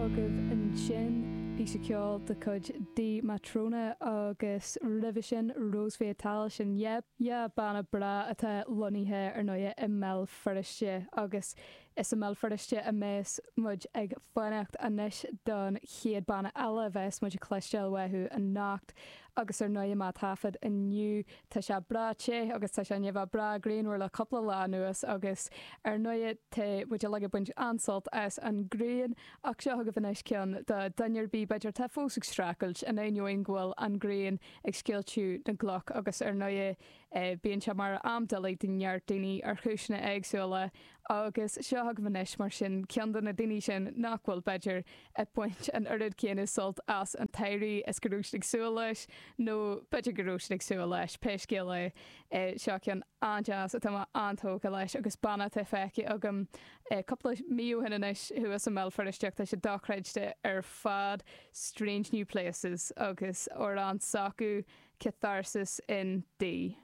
agaibh ansin, píosa ceoil de chuid Dee Matrona agus roimhe sin Rose Fatale, sin yeah banna breá atá lonnaithe ar ndóighe i mBéal Feirste agus is i mBéal Feirste a mbeas muid ag fanacht anois don chéad banna eile a bheas muid ag cloisteáil uathu anocht Agus ar ndóighe má taifead inniu tá sé breá te agus tá sé i ndiaidh a bheith breá grianmhar le cúpla lá anuas agus ar ndóighe tá muid uilig ag baint an-sult as an ghrian ach seo chugaibh anois ceann do dhuine ar bith b'fhéidir atá fós ag streachailt in ainneoin go bhfuil an ghrian ag scoilteadh na gcloch agus ar ndóighe Bíonn sé mar am doiligh do neart daoine ar chúiseanna éagsúla agus seo chugaibh anois mar sin ceann de na daoine sin nach bhfuil, b'fhéidir, ag baint an oiread céanna sult as an tsamhradh is go raibh siad ag súil leis, nó b'fhéidir go raibh siad ag súil leis, pé scéal é. Seo ceann an-deas atá mé an-tógtha leis agus banna atá feicthe agam cúpla mí ó shin anois thuas i mBéal Feirste ach tá sé dochreidte ar fad, Strange New Places agus amhrán s'acu. Catharsis in D.